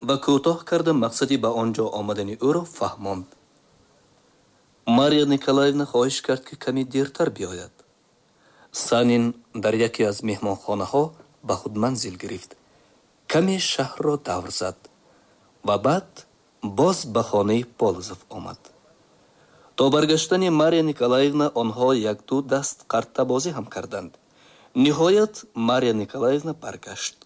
Ва кӯтоҳ карда мақсади ба он ҷо омадани ӯро фаҳмонд. Марья Николаевна хоҳиш кард, ки каме дертар биёяд. Санин дар яке аз меҳмонхонаҳо ба худ манзил гирифт. Каме шаҳрро давр зад ва баъд боз ба хонаи Полозов омад. То баргаштани Марья Николаевна онҳо якду даст қартабозӣ ҳам карданд. Ниҳоят Марья Николаевна баргашт.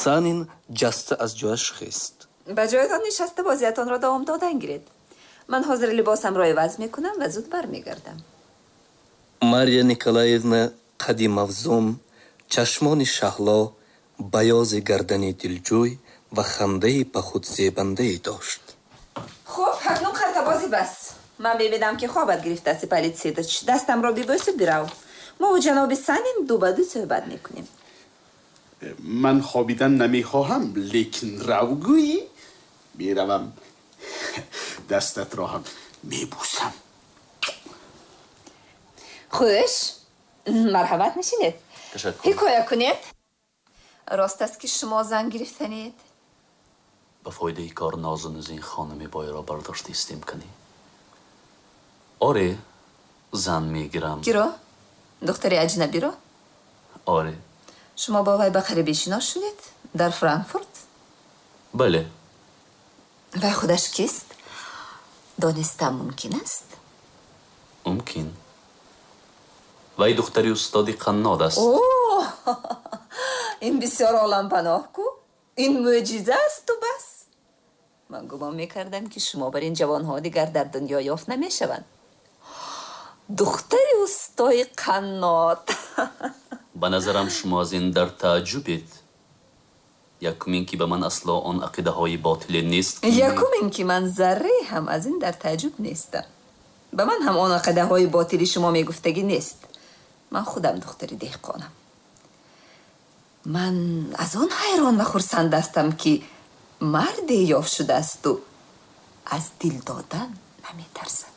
Санин ҷаста аз ҷояш хест. Ба ҷоятон нишаста бозиятонро давом додан гиред. Ман ҳозир либосамро иваз мекунам ва зуд бармегардам. Марья Николаевна қади мавзун, чашмони шаҳло, баёзи гардани дилҷӯй ва хандаи ба худ зебандае дошт. Хуб, акнун қартабозӣ бас. Ман мебинам, ки хобат гирифтааст, Ипполит Сидорыч. Дастамро бибӯсу бирав. Мову ҷаноби Санин ду ба ду суҳбат мекунем. Ман хобидан намехоҳам, лекин рав гӯӣ, меравам. Дастатро ҳам мебӯсам. Хуш, марҳамат, нишинед. Ташаккур. Ҳикоя кунед. Рост аст, ки шумо зан гирифтанед? Ба фоидаи кор нозу нузи ин хонуми бойро бардошта истем кунӣ. Оре, зан мегирам. Киро? Духтари аҷнабиро? Оре. Шумо бо вай ба қарибӣ шинос шудед? Дар Франкфурт? Бале. Вай худаш кист? Донистан мумкин аст? Мумкин. Вай духтари устоди қаннод аст. О, ин бисёр олампаноҳ ку. Ин мӯъҷиза асту бас. Ман гумон мекардам, ки шумо бар ин ҷавонҳо дигар дар дунё ёфт намешаванд. Духтари устои қаннод. Ба назарам, шумо аз ин дар тааҷҷубед. Якум ин ки ба ман асло он ақидаҳои ботиле нест, ки Якум ин ки ман зарре ҳам аз ин дар тааҷҷуб нестам. Ба ман ҳам он ақидаҳои ботили шумо мегуфтагӣ нест. Ман худам духтари деҳқонам. Ман аз он ҳайрон ва хурсанд ҳастам, ки марде ёфт шудаасту аз дил додан наметарсад.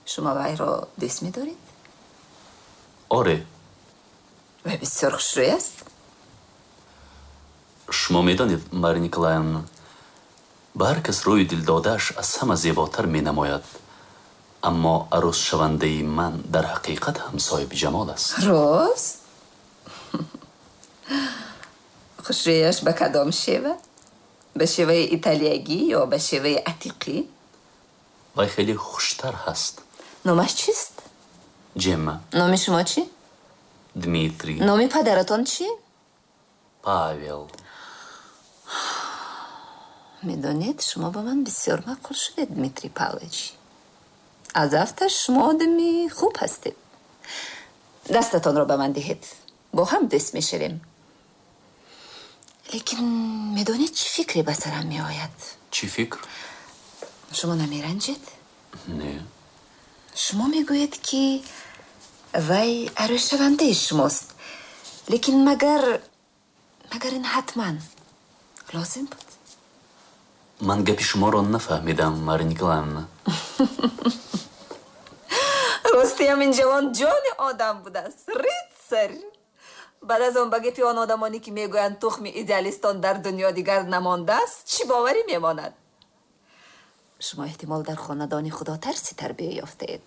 Шумо вайро дӯст медоред? Оре. Вай бисёр хушрӯй аст? Шумо медонед, Марья Николаевна, ба ҳар кас рӯи дилдодааш аз ҳама зеботар менамояд, аммо арӯсшавандаи ман дар ҳақиқат ҳам соҳиби ҷамол аст. Рост? Хушрӯяш ба кадом шева? Ба шеваи италиягӣ ё ба шеваи атиқӣ? Вай хеле хуштар ҳаст. Номаш чист? Ҷемма. Номи шумо чӣ? Дмитрий. Номи падаратон чӣ? Павел. Медонед, шумо ба ман бисёр маъқул шудед, Дмитрий Павлович. Аз афташ шумо одами хуб ҳастед. Дастатонро ба ман диҳед, бо ҳам дӯст мешавем. Лекин медонед, чӣ фикре ба сарам меояд? Чӣ фикр? Шумо намеранҷед? Не. Шумо мегӯед, ки вай арӯсшавандаи шумост, лекин магар ин ҳатман лозим буд? Ман гапи шуморо нафаҳмидам, Марья Николаевна. Ростиам, ин ҷавон ҷони одам будааст, рыцарь. Баъд аз он ба гапи он одамоне, ки мегӯянд, тухми идеалистон дар дунё дигар намондааст, чӣ боварӣ мемонад? Шумо эҳтимол дар хонадони худотарсӣ тарбия ёфтаед.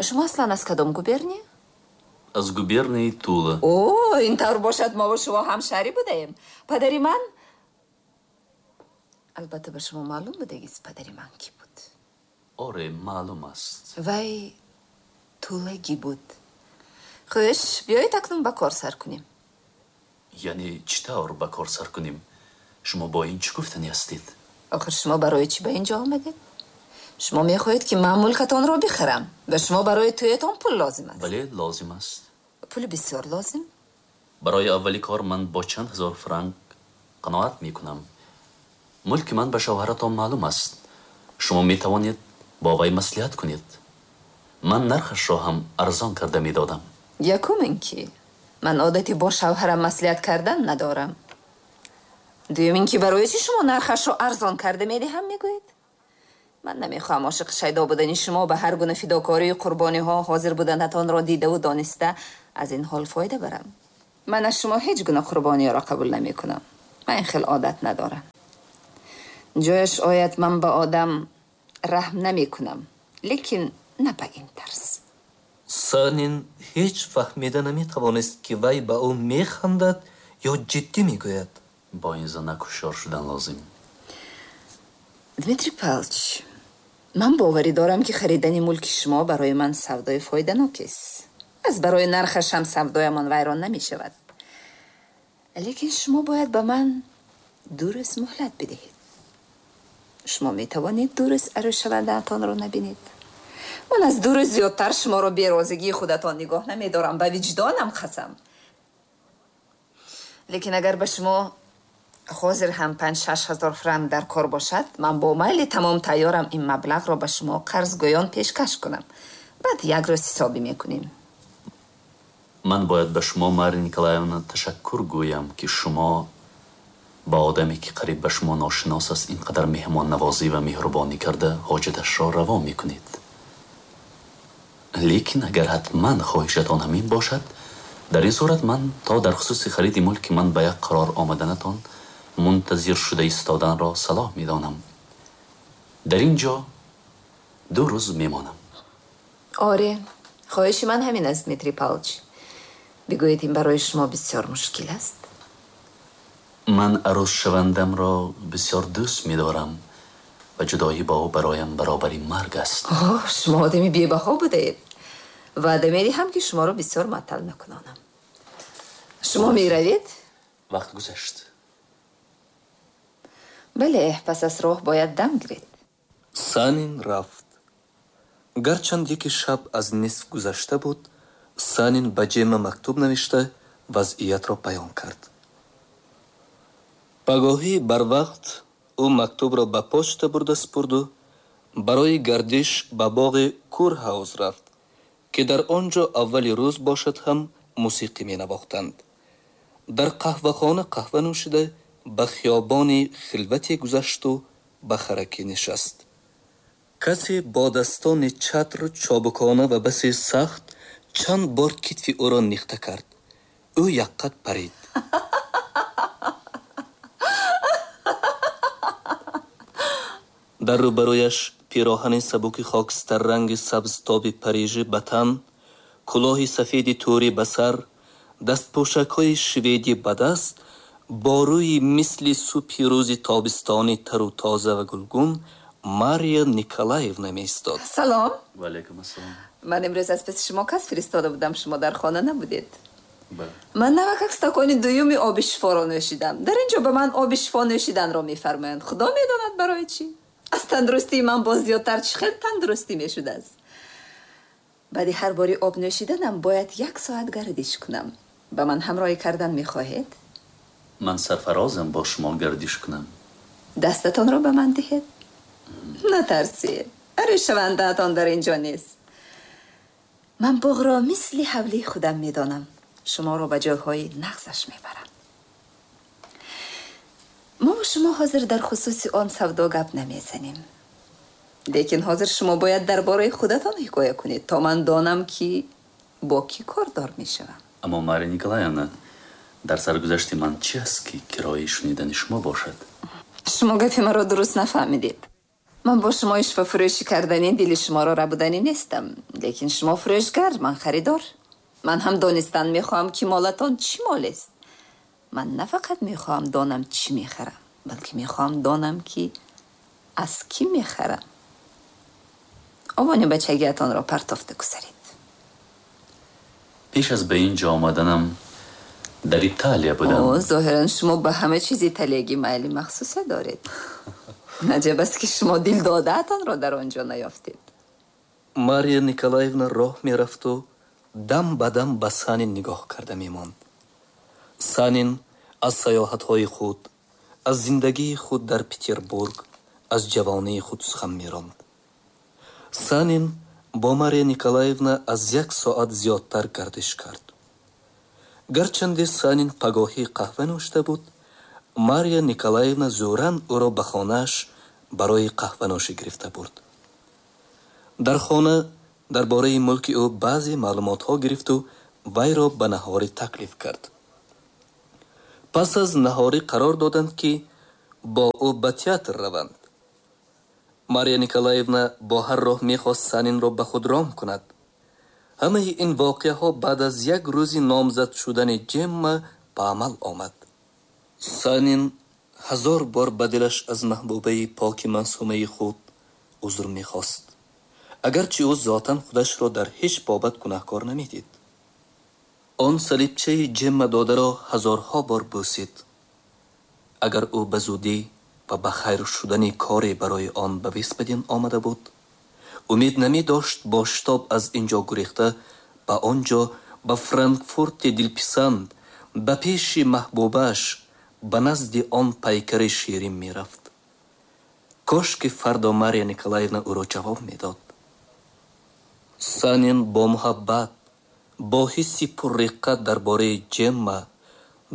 Шумо аслан аз кадом губерния? Аз губернияи Тула. О, ин тавр бошад, мову шумо ҳамшаҳрӣ будаем. Падари ман, албатта, ба шумо маълум будагист, падари ман кӣ буд? Оре, маълум аст. Вай тулагӣ буд. Хуш, биёед, акнун ба кор сар кунем. Яъне чӣ тавр ба кор сар кунем? Шумо бо ин чӣ гуфтанӣ ҳастед? Охир шумо барои чӣ ба ин ҷо омадед? Шумо мехоҳед, ки ман мулкатонро бихарам ва шумо барои тӯятон пул лозим аст. Бале, лозим аст. Пули бисёр лозим? Барои аввали кор ман бо чанд ҳазор франк қаноат мекунам. Мулки ман ба шавҳаратон маълум аст. Шумо метавонед бо вай маслиҳат кунед. Ман нархашро ҳам арзон карда медодам. Якум ин ки ман одати бо шавҳарам маслиҳат кардан надорам. Дуюм ин ки барои чӣ шумо нархашро арзон карда медиҳам мегӯед? Ман намехоҳам ошиқи шайдо будани шумо, ба ҳар гуна фидокорию қурбониҳо ҳозир буданатонро дидаву дониста аз ин ҳол фоида барам. Ман аз шумо ҳеҷ гуна қурбониёро қабул намекунам. Ман ин хел одат надорам. Ҷояш ояд, ман ба одам раҳм намекунам, лекин на ба ин тарз. Санин ҳеҷ фаҳмида наметавонист, ки вай ба ӯ механдад ё ҷиддӣ мегӯяд. Бо ин занак ҳушёр шудан лозим. Дмитрий Павлович, ман боварӣ дорам, ки харидани мулки шумо барои ман савдои фоиданок аст. Аз барои нархаш ҳам савдоямон вайрон намешавад. Лекин шумо бояд ба ман 2 рӯз муҳлат бидиҳед. Шумо метавонед 2 рӯз арӯсшавандаатонро набинед. Ман аз 2 рӯз зиёдтар шуморо берозигии худатон нигоҳ намедорам, ба виҷдонам қасам. Лекин агар ба шумо ҳозир ҳам 5-6 ҳазор франк дар кор бошад, ман бо майли тамом тайёрам ин маблағро ба шумо қарзгӯён пешкаш кунам. Баъд як рӯз ҳисобӣ мекунем. Ман бояд ба шумо, Мария Николаевна, ташаккур гӯям, ки шумо ба одаме, ки қариб ба шумо ношинос аст, ин қадар меҳмоннавозӣ ва меҳрубонӣ карда ҳоҷаташро раво мекунед. Лекин агар ҳатман хоҳишатон ҳамин бошад, дар ин сурат ман то дар хусуси хариди мулки ман ба як қарор омаданатон мунтазир шуда истоданро салоҳ медонам. Дар ин ҷо 2 рӯз мемонам. Оре, хоҳиши ман ҳамин аст, Дмитрий Павлович. Бигӯед, ин барои шумо бисёр мушкил аст? Ман арӯсшавандамро бисёр дӯст медорам ва ҷудоӣ бо ӯ бароям баробари марг аст. Оҳ, шумо одами бебаҳо будаед. Ваъда медиҳам, ки шуморо бисёр муаттал накунонам. Шумо меравед? Вақт гузашт. Бале, пас аз роҳ бояд дам гиред. Санин рафт. Гарчанд яке шаб аз нисф гузашта буд, Санин ба Ҷемма мактуб навишта вазъиятро баён кард. Пагоҳӣ барвақт ӯ мактубро ба почта бурда супурду барои гардиш ба боғи Курҳауз рафт, ки дар он ҷо аввали рӯз бошад ҳам мусиқӣ менавохтанд. Дар қаҳвахона қаҳва нӯшида ба хиёбони хилвате гузашту ба харакӣ нишаст. Касе бо дастони чатр чобукона ва басе сахт чанд бор китфи ӯро нихта кард. Ӯ якқат парид. Дар рӯбарӯяш пироҳани сабуки хокистарранги сабзтоби Парижӣ ба тан, кулоҳи сафеди тӯрӣ ба сар, дастпӯшакҳои шведӣ ба даст, бо рӯи мисли субҳи рӯзи тобистони тару тоза ва гулгун Мария Николаевна меистод. Салом. Ва алайкум ассалом. Ман имрӯз аз паси шумо кас фиристода будам, шумо дар хона набудед. Ман навакак стакони дуюми оби шифоро нӯшидам. Дар ин ҷо ба ман оби шифо нӯшиданро мефармоянд. Худо медонад барои чӣ. Аз тандурустии ман боз зиёдтар чӣ хел тандурустӣ мешудааст. Баъди ҳар бори об нӯшиданам бояд 1 соат гардиш кунам. Ба ман ҳамроҳӣ кардан мехоҳед? Ман сарфарозам бо шумо гардиш кунам. Дастатонро ба ман диҳед. Натарсед, арӯсшавандаатон дар ин ҷо нест. Ман боғро мисли ҳавлии худам медонам. Шуморо ба ҷойҳои нағзаш мебарам. Мо бо шумо ҳозир дар хусуси он савдо гап намезанем. Лекин ҳозир шумо бояд дар бораи худатон ҳикоя кунед, то ман донам, ки бо кӣ кордор мешавам. Аммо Мария Николаевна, дар саргузашти ман чӣ аст, ки кирояи шунидани шумо бошад? Шумо гапи маро дуруст нафаҳмидед. Ман бо шумо ишвафурӯшӣ кардани дили шуморо рабуданӣ нестам. Лекин шумо фурӯшгар, ман харидор. Ман ҳам донистан мехоҳам, ки молатон чӣ молест. Ман на фақат мехоҳам донам чӣ мехарам, балки мехоҳам донам, ки аз кӣ мехарам. Овони бачагиатонро партофта гузаред. Пеш аз ба ин ҷо омаданам дар Италия будам. О, зоҳиран шумо ба ҳама чиз италиягӣ майли махсусе доред. Аҷаб аст, ки шумо дил додаатонро дар он ҷо наёфтед. Мария Николаевна роҳ мерафту дам ба дам ба Санин нигоҳ карда мемонд. Санин аз саёҳатҳои худ, аз зиндагии худ дар Петербург, аз ҷавонии худ сухан меронд. Санин бо Мария Николаевна аз 1 соат зиёдтар гардиш кард. Гарчанде Санин пагоҳӣ қаҳва нӯшта буд, Мария Николаевна зӯран ӯро ба хонааш барои қаҳванӯшӣ гирифта бурд. Дар хона дар бораи мулки ӯ баъзе маълумотҳо гирифту вайро ба наҳорӣ таклиф кард. Пас аз наҳорӣ қарор доданд, ки бо ӯ ба театр раванд. Мария Николаевна бо ҳар роҳ мехост Санинро ба худ ром кунад. Ҳамаи ин воқеаҳо баъд аз як рӯзи номзад шудани Ҷемма ба амал омад. Санин ҳазор бор ба дилаш аз маҳбубаи поки маъсумаи худ узр мехост, агарчи ӯ зотан худашро дар ҳеҷ бобат гунаҳкор намедид. Он салибчаи Ҷемма додаро ҳазорҳо бор бӯсид. Агар ӯ ба зудӣ ва ба хайр шудани коре барои он ба Висбаден омада буд, умед намедошт бо шитоб аз ин ҷо гурехта ба он ҷо, ба Франкфурти дилписанд, ба пеши маҳбубааш, ба назди он пайкари ширин мерафт. Кош ки фардо Мария Николаевна ӯро ҷавоб медод. Санин бо муҳаббат, бо ҳисси пурриққат дар бораи Ҷемма,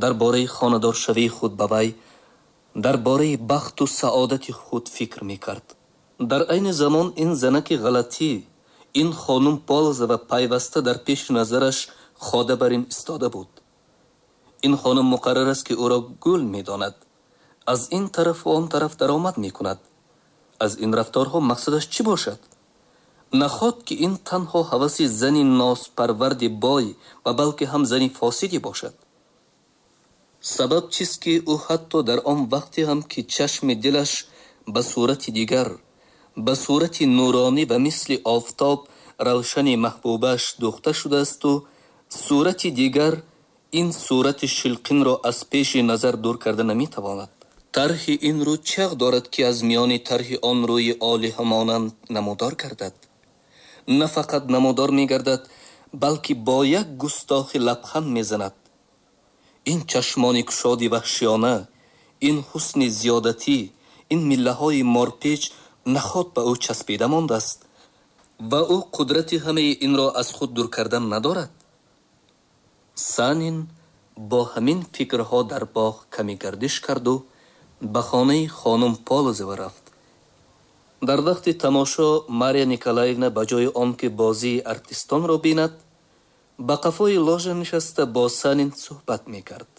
дар бораи хонадоршавии худ ба вай, дар бораи бахту саодати худ фикр мекард. Дар айни замон ин занаки ғалатӣ, ин хонум Полозова пайваста дар пеши назараш хода бар ин истода буд. Ин хонум муқаррар аст, ки ӯро гул медонад, аз ин тарафу он тараф даромад мекунад. Аз ин рафторҳо мақсадаш чӣ бошад? Наход ки ин танҳо ҳаваси зани нозпарварди бой ва балки ҳам зани фосиде бошад. Сабаб чист, ки ӯ ҳатто дар он вақте ҳам ки чашми дилаш ба сурати дигар, ба сурати нуронӣ ва мисли офтоб равшани маҳбубааш дӯхта шудаасту сурати дигар ин сурати шилқинро аз пеши назар дур карда наметавонад. Тарҳи ин рӯ чӣ дорад, ки аз миёни тарҳи он рӯи олиҳамонанд намудор гардад? На фақат намудор мегардад, балки бо як густохи лабханд мезанад. Ин чашмони кушоди ваҳшиёна, ин ҳусни зиёдатӣ, ин миллаҳои морпеч наход ба ӯ часпида мондааст ва ӯ қудрати ҳамаи инро аз худ дур кардан надорад. Санин бо ҳамин фикрҳо дар боғ каме гардиш карду ба хонаи хонум Полозова рафт. Дар вақти тамошо Мария Николаевна ба ҷои он ки бозии артистонро бинад, ба қафои ложа нишаста бо Санин суҳбат мекард.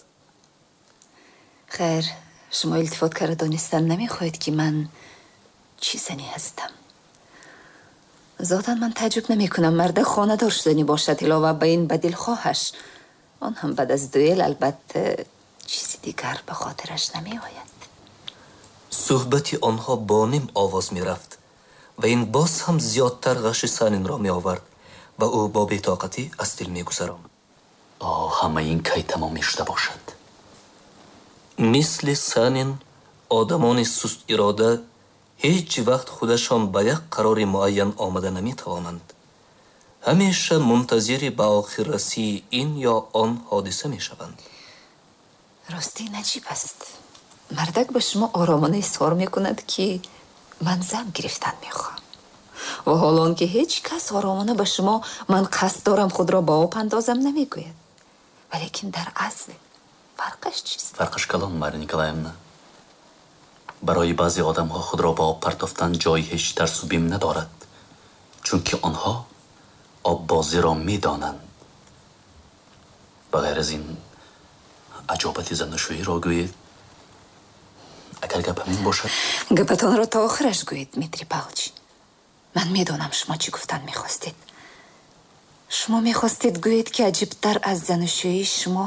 Хайр, шумо илтифот карда донистан намехоҳед, ки ман чӣ зане ҳастам. Зотан ман таъҷуб намекунам марда хонадор шуданӣ бошад, илова ба ин ба дилхоҳаш. Он ҳам баъд аз дуэл, албатта, чизи дигар ба хотираш намеояд. Суҳбати онҳо бо ним овоз мерафт ва ин боз ҳам зиёдтар ғаши Санинро меовард ва ӯ бо бетоқатӣ аз дил мегузаронд. Оҳ, ҳамаи ин кай тамом мешуда бошад? Мисли Санин одамони сустирода ҳеҷ вақт худашон ба як қарори муайян омада наметавонанд. Ҳамеша мунтазири ба охиррасии ин ё он ҳодиса мешаванд. Ростӣ наҷиб аст. Мардак ба шумо оромона изҳор мекунад, ки ман зан гирифтан мехоҳам. Ва ҳол он ки ҳеҷ кас оромона ба шумо ман қасд дорам худро ба об андозам намегӯяд. Валекин дар асл фарқаш чист? Фарқаш калон, Мария Николаевна. Барои баъзе одамҳо худро ба об партофтан ҷои ҳеҷ тарсу бим надорад, чунки онҳо оббозиро медонанд. Ба ғайр аз ин аҷобати занушӯиро гӯед, агар гап ҳамин бошад. Гапатонро то охираш гӯед, Дмитрий Павлович. Ман медонам шумо чӣ гуфтан мехостед. Шумо мехостед гӯед, ки аҷибтар аз занушӯии шумо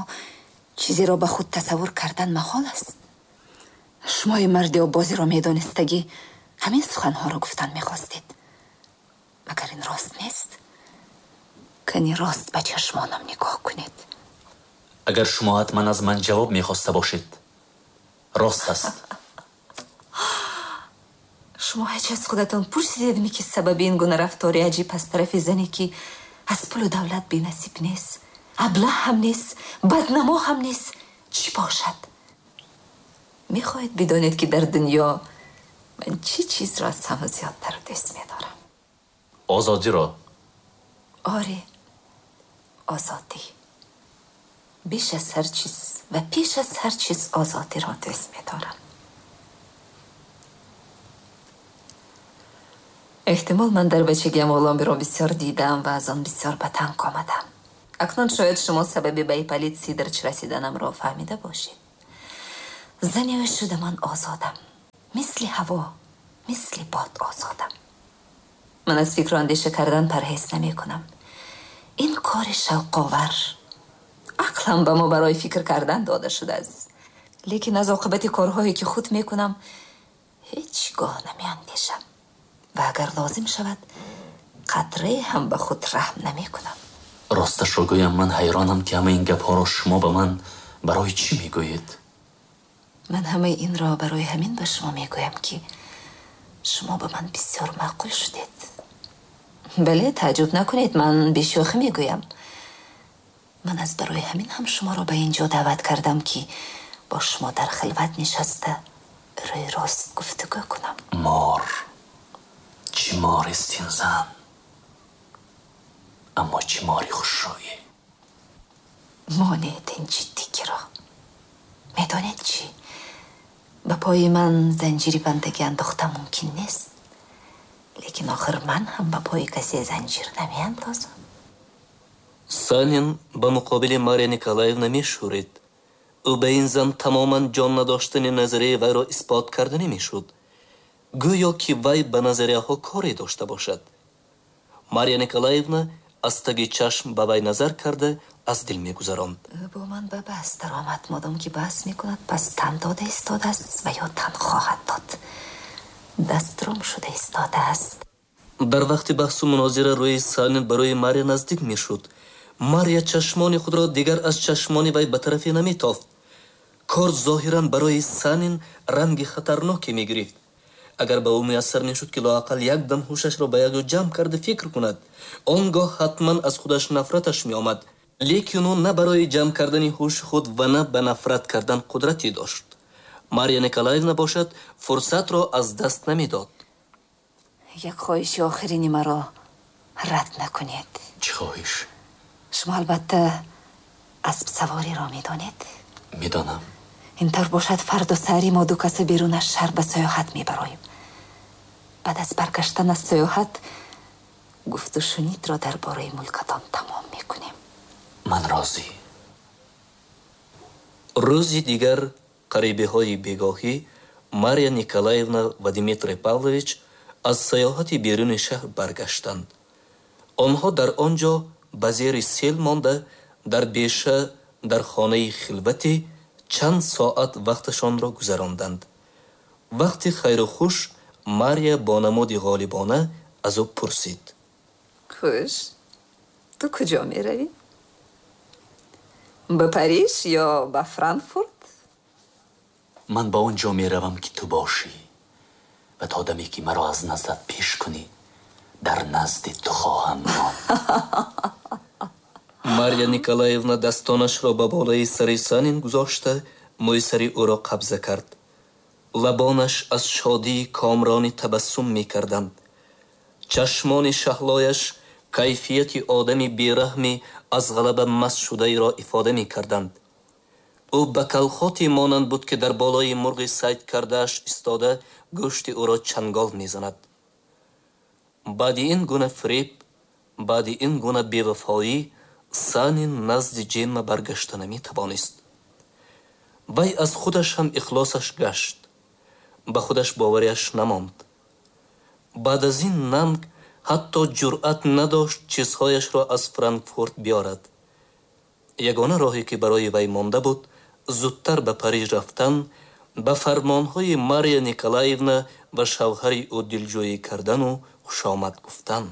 чизеро ба худ тасаввур кардан маҳол аст. Шумои марди оббозиро медонистагӣ ҳамин суханҳоро гуфтан мехостед. Магар ин рост нест? Кани рост ба чашмонам нигоҳ кунед. Агар шумо ҳатман аз ман ҷавоб мехоста бошед, рост аст. Шумо ҳеҷ аз худатон пурсидедми, ки сабаби ин гуна рафтори аҷиб аз тарафи зане, ки аз пулу давлат бенасиб нест, аблаҳ ҳам нест, баднамо ҳам нест, чӣ бошад? Мехоҳед бидонед, ки дар дунё ман чӣ чизро аз ҳама зиёдтар дӯст медорам? Озодиро. Оре, озодӣ. Беш аз ҳар чиз ва пеш аз ҳар чиз озодиро дӯст медорам. Эҳтимол ман дар бачагиам ғуломиро бисёр дидам ва аз он бисёр ба танг омадам. Акнун шояд шумо сабаби ба Ипполит Сидорыч расиданамро фаҳмида бошед. Зани ӯ шуда ман озодам. Мисли ҳаво, мисли бод озодам. Ман аз фикру андеша кардан парҳез намекунам. Ин кори шавқовар. Ақлам ба мо барои фикр кардан дода шудааст. Лекин аз оқибати корҳое ки худ мекунам ҳеҷ гоҳ намеандешам. Ва агар лозим шавад, қатрае ҳам ба худ раҳм намекунам. Росташро гӯям, ман ҳайронам, ки ҳамаи ин гапҳоро шумо ба ман барои чӣ мегӯед? Ман ҳамаи инро барои ҳамин ба шумо мегӯям, ки шумо ба ман бисёр маъқул шудед. Бале, тааҷҷуб накунед, ман бешӯхӣ мегӯям. Ман аз барои ҳамин ҳам шуморо ба ин ҷо даъват кардам, ки бо шумо дар хилват нишаста рӯи рост гуфтугӯ кунам. Мор, чӣ морест ин зан, аммо чӣ мори хушрӯе. Монед ин ҷиддигиро. Медонед чӣ? Ба пои ман занҷири бандагӣ андохта мумкин нест. Лекин охир ман ҳам ба пои касе занҷир намеандозам. Санин ба муқобили Марья Николаевна мешӯрид. Ӯ ба ин зан тамоман ҷон надоштани назарияи вайро исбот карда намешуд. Гӯё ки вай ба назарияҳо коре дошта бошад. Марья Николаевна аз таги чашм ба вай назар карда аз дил мегузаронд. Ӯ бо ман ба баҳс даромад. Модом ки баҳс мекунад, пас тан дода истодааст ва ё тан хоҳад дод. Дастром шуда истодааст. Дар вақти баҳсу мунозира рӯи Санин ба рӯи Марья наздик мешуд. Марья чашмони худро дигар аз чашмони вай ба тарафе наметофт. Кор зоҳиран барои Санин ранги хатарноке мегирифт. Агар ба ӯ муяссар мешуд, ки лоақал як дам ҳушашро ба як ҷо ҷамъ карда фикр кунад, он гоҳ ҳатман аз худаш нафраташ меомад. Лекин ӯ на барои ҷамъ кардани ҳуши худ ва на ба нафрат кардан қудрате дошт. Марья Николаевна бошад, фурсатро аз даст намедод. Як хоҳиши охирини маро рад накунед. Чӣ хоҳиш? Шумо албатта аспсавориро медонед? Медонам. Интавр бошад, фардо саҳари мо ду каса берун аз шаҳр ба сайёҳат мебароем. Баъд аз баргаштан аз сайёҳат гуфту шунидро дар бораи мулкатон тамом мекунем. Ман розӣ. Рӯзи дигар қарибиҳои бегоҳӣ Марья Николаевна ва Дмитрий Павлович аз сайёҳати беруни шаҳр баргаштанд. Онҳо дар он ҷо ба зери сел монда, дар беша дар хонаи хилватӣ чанд соат вақташонро гузаронданд. Вақти хайру хуш Марья бо намуди ғолибона аз ӯ пурсид. Хуш, ту куҷо меравӣ? Ба Париж ё ба Франкфурт? Ман ба он ҷо меравам, ки ту бошӣ ва то даме ки маро аз наздат пеш кунӣ, дар назди ту хоҳам монд. Марья Николаевна дастонашро ба болои сари Санин гузошта, мӯи сари ӯро қабза кард. Лабонаш аз шодии комрони табассум мекарданд. Чашмони шаҳлояш кайфияти одами бераҳми аз ғалаба маст шудаеро ифода мекарданд. Ӯ ба калхоте монанд буд, ки дар болои мурғи сайд кардааш истода гӯшти ӯро чангол мезанад. Баъди ин гуна фиреб, баъди ин гуна бевафоӣ Санин назди Ҷемма баргашта наметавонист. Вай аз худаш ҳам ихлосаш гашт. Ба худаш бовариаш намонд. Баъд аз ин нанг ҳатто ҷуръат надошт чизҳояшро аз Франкфурт биёрад. Ягона роҳе ки барои вай монда буд, зудтар ба Париж рафтан, ба фармонҳои Марья Николаевна ва шавҳари ӯ дилҷӯӣ кардану хушомад гуфтан.